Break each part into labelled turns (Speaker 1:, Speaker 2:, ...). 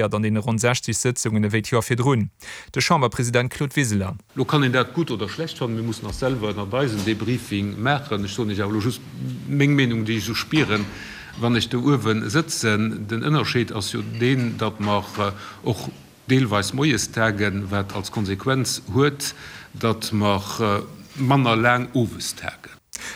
Speaker 1: An deene ronn 60 Sëtzungen ewéi d'Joer virdrun. De Chamberpresident Claude Wiseler.
Speaker 2: Lo kann een dat gutt oder schlecht fannen, mir mussen och selwer ënnert eis en Debriefing maachen. Ech soen Iech awer elo just meng Meenung, déi ech esou spieren, wann ech do uewe sëtzen. Den Ënnerscheed ass jo deen, datt mer och deelweis moies tagen, wat als Konsequenz huet, datt mer manner laang owes tagen.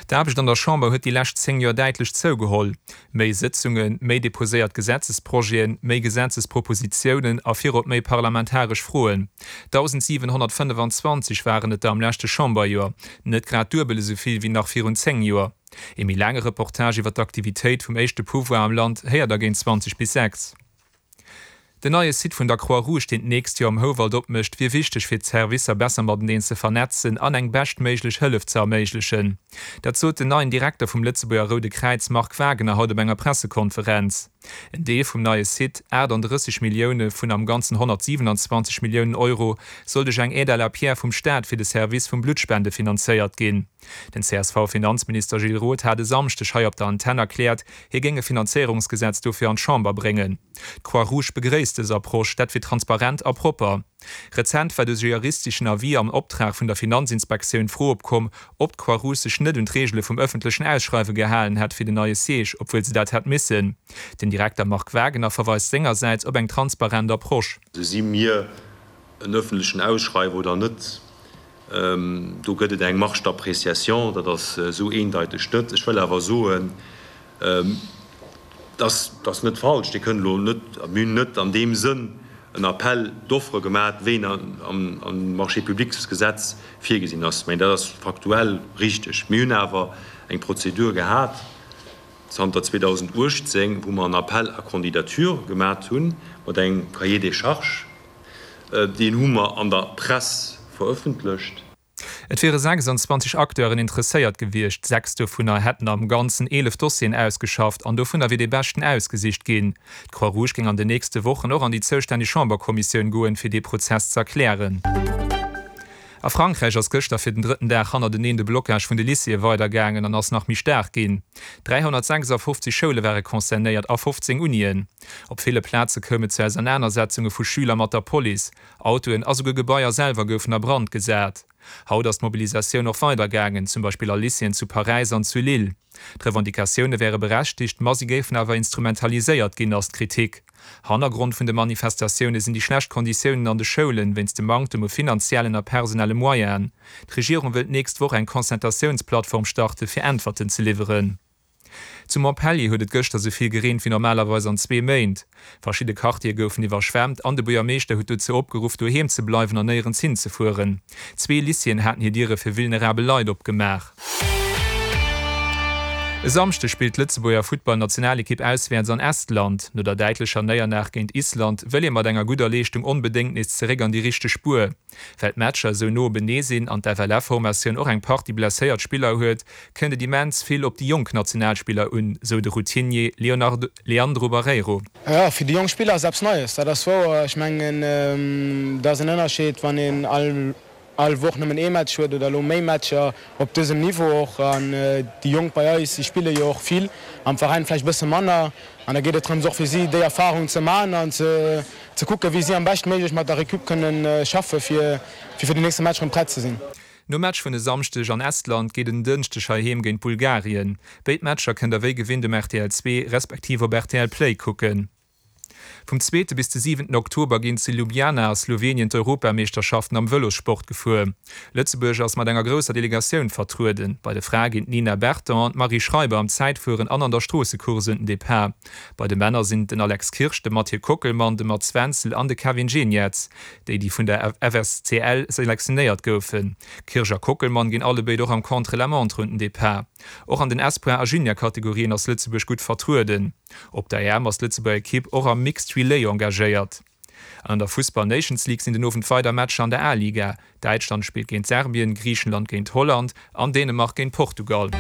Speaker 1: D'Aarbecht an der Chamber huet déi lescht 10 Joer däitlech zougeholl. Méi Sëtzungen, méi deposéiert Gesetzesprojeten, méi Gesetzespropositiounen a virop méi parlamentaresch Froen. 1.725 waren et der am leschte Chamberjoer, net grad duebel esou vill wéi nach virun 10 Joer. Ee méi laange Reportage iwwer d'Aktivitéit vum éischte Pouvoir am Land héiert der géint 20 bis 6. Den neie Site vun der Croix-Rouge, deen d'nächst Joer am Houwald opmécht, wier wichteg fir d'Servicer besser mateneen ze vernetzen an eng beschtméiglech Hëllef ze erméiglechen. Dat sot den neien Direkter vum Lëtzebuerger Roude Kräiz Marc Wagener haut op enger Pressekonferenz. En Deel vum neie Site, 38 Millioune vun am Ganzen 127 Milliounen Euro, soll duerch eng Aide à la pierre vum Staat fir de Service vum Bluttspende finanzéiert ginn. Den CSV-Finanzminister Gilles Roth hat e Samschdeg hei op der Antenn erkläert, hie géing e Finanzéierungsgesetz dofir an d'Chamber bréngen. D'Croix-Rouge begréisst dës Approche, dat wier transparent a propper. Rezent war duerch e juristeschen Avis am Optrag vun der Finanzinspektioun d'Fro opkomm, ob d'Croix-Rouge sech net un d'Reegele vum ëffentlechen Ausschreiwe gehalen hätt fir den neie Siège, obwuel se dat hätt missen. Den Direkter Marc Wagener verweist sengersäits op eng transparent Approche.
Speaker 3: Si mir en öffentlechen Ausschreiwe oder net, do gëtt et eng Marge d'appréciation, dat ass esou eendeiteg net. Ech wëll awer soen, dat ass net falsch, Dir kënnt elo net, mir hunn net an deem Sënn en Appel d'offres gemaach, wéi en am Marchés-publics-Gesetz virgesinn ass. Mä dat ass faktuell richteg. Mir hunn awer eng Prozedur gehat zanter 2018, wou mer en Appel à candidatures gemaach hunn mat engem Cahier des charges. Deen hu mer an der Press verëffentlecht.
Speaker 1: Et wiere 26 Acteuren interesséiert gewiescht, 6 dovunner hätten am Ganzen 11 Dossieren ausgeschafft an dovunner wier dee beschten ausgesicht ginn. D'Croix-Rouge géing an den nächste Wochen och an déi zoustänneg Chamberkommissioun goen, fir dee Prozess z'erklären. A Frankräich ass gëschter fir den drëtten Dag hannerteneen de Blockage vun de Lycéeë weidergaangen an ass nach méi staark ginn. 356 Schoule ware concernéiert a 15 Unien. Op ville Plaze koum et zu Ausernanersetzunge vu Schüler mat der Police. Autoen a souguer Gebaier selwer goufen a Brand gesat. Haut ass d'Mobilisatioun och weider gaangen, zum Beispill a Lycéeën zu Paräis an zu Lille. D'Revendicatioune wäre berechtigt, ma si géifen awer instrumentaliséiert ginn, ass d'Kritik. Hannergrond vun de Manifestatioune sinn déi schlecht Konditiounen an de Schoulen, wéinst dem Manktem u finanziellen a personelle Moyenen. D'Regierung wëll d'nächst Woch eng Concertatiounsplattform starte fir Äntwerten ze liwweren. Zu Montpellier huet et gëschter sou vill gereent wéi normalerweis an zwee Méint. Verschidde Quartiere goufen iwwerschwemmt an de Buergermeeschter huet dozou opgeruff, doheem ze bleiwen an néierens hinzefueren. Zwee Lycéeën haten hir Diere fir vulnerabel Leit opgemaach. E Samschdeg spillt d'Lëtzebuerger Futtballnationalekipp auswäerts an Estland. No der däitlecher Néierlag géint Island wëll ee mat enger gudder Leeschtung onbedéngt nees zeréck an déi richteg Spuer. Well d'Matcher esou no openee sinn an d'FLF-Formatioun och eng Partie blesséiert Spiller huet, kënnt et immens vill op déi jonk Nationalspiller un, sou de Routinier Leandro Barreiro.
Speaker 4: Jo, fir déi jonk Spiller ass et eppes Neies, dat ass wouer. Ech mengen, et ass en Ënnerscheed, wann een all Woch nëmmen ee Match huet oder elo méi Matcher op dësem Niveau och. An déi Jonk bei eis, déi spille jo och vill, am Veräin vläicht e bësse manner. An da geet et drëms och fir si déi Erfarung ze man an ze kucken, wéi si am beschtméiglech mat der Recup kënnen schaffen, fir fir den nächste Match rëm prett ze sinn.
Speaker 1: Nom Match vun e Samschdeg an Estland geet et en Dënschdeg heiheem géint Bulgarien. Béid Matcher kënnt der wéi gewinnt um rtl 2 respektiv op rtl Play kucken. Vum zweete bis de siwenten Oktober ginn zu Ljubljana a Slowenien d'Europameeschterschaften am Vëlossport gefuer. Lëtzebuerg ass mat enger grousser Delegatioun vertrueden. Bei de Frae ginn d'Nina Berton an d'Marie Schreiber am Zäitfueren an an der Stroossecourse un den Depart. Bei de Männer sinn et den Alex Kirsch, de Mathieu Kockelmann, de Mats Wenzel an de Kevin Geniets, déi déi vun der FSCL selektionéiert goufen. Kirsch a Kockelmann ginn allebéid och am Contre-la-montre un den Depart. Och an den Espoir a Junior-Kategorien ass Lëtzebuerg gutt vertrueden. Op der EM ass d'Lëtzebuerger Ekipp och am Mixed Relay engagéiert. An an der Fussball Nations League sinn den Owend weider Matcher an der A-Liga. Däitschland spillt géint Serbien, Griichenland géint Holland an Dänemark géint Portugal.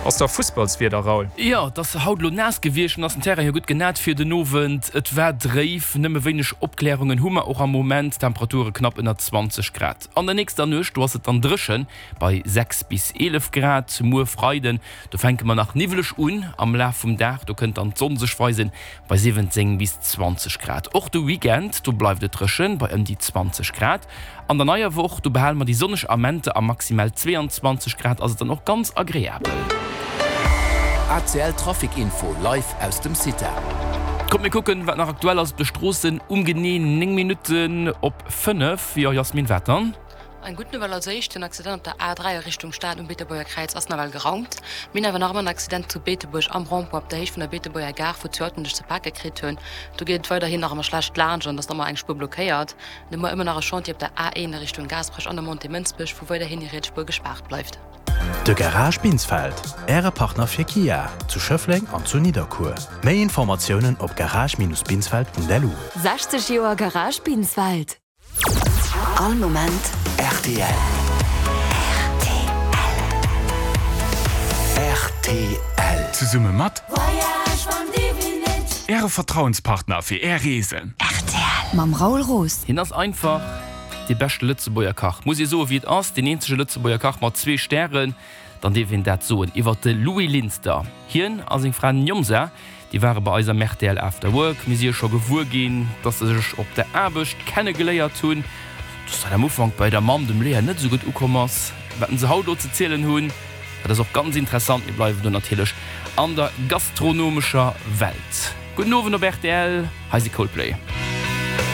Speaker 1: Ass da Fussballswieder, Raoul?
Speaker 5: Jo, et ass haut elo naass gewiescht, an ass den Terrain jo gutt genat fir den Owend. Et war dréif, nëmme wéineg Opklärungen hu mer och am Moment, Temperature knapp ënner 20 Grad. An der nächster Nuecht, do ass et dann dréchen bei 6 bis 11 Grad. Muer Freiden, do fänke mer nach niwweleg un, am Laf vum Dag, do kënnt dann d'Sonn sech weisen bei 17 bis 20 Grad. Och de Weekend, do bleift et dréchen bei ëm déi 20 Grad. An der neier Woch, do behale mer déi sonneg Amente a maximal 22 Grad ass et dann och ganz agreabel.
Speaker 6: ACL Trafic Info live aus dem CITA.
Speaker 5: Kommt mir kucken wat nach aktuell ass op de Stroossen um genee 9 Minutten op 5. Jo Jasmin, wat dann?
Speaker 7: Eng gutt Nouvelle als éischt, Den Accident op der A3 a Richtung Stad um Beetebuerger Kräiz ass nawell geraumt. Mir hunn awer nach ëmmer en Accident zu Beetebuerg am Rond-point op der Héicht vun der Beetebuerger Gare, wou zwou Autoen sech ze pake kritt hunn. Do geet et weiderhin nach ëmmer schlecht laanscht an et ass nach ëmmer eng Spuer blockéiert. An hu mer ëmmer nach e Chantier op der A1 a Richtung Gaasperech an der Montée Mënsbech, wou weiderhin déi riets Spuer gespaart bleift.
Speaker 6: De Garage Binsfeld, Äre Partner fir Kia, zu Schëffleng an zu Nidderkuer. Méi Informatiounen op garage-binsfeld.lu.
Speaker 8: 60 Joer Garage Binsfeld. All Moment
Speaker 6: rtl. Rtl.
Speaker 9: Zesumme mat Äre Vertrauenspartner fir Är Reesen.
Speaker 8: Rtl mam Raoul Roos.
Speaker 5: Hien ass einfach dee beschte Lëtzebuerger Kach, muss ee soe wéi et ass, deen eenzege Lëtzebuerger Kach mat zwee Stären, dann dierf een dat soen iwwert de Louis Linster. Hien a seng Fra Njomza, déi ware bei eis am rtl After Work. Mir si jo scho gewuer ginn, dass se sech op der Aarbecht kenne geléiert hunn, dass dat am Ufank bei der Mamm, dem Léa, net esou gutt ukomm ass. Wat se haut elo ze zielen hunn, Dat ass och ganz interessant. Mir bleiwen do natierlech an der gastronomescher Welt. Gudden Owend op rtl, hei si Coldplay.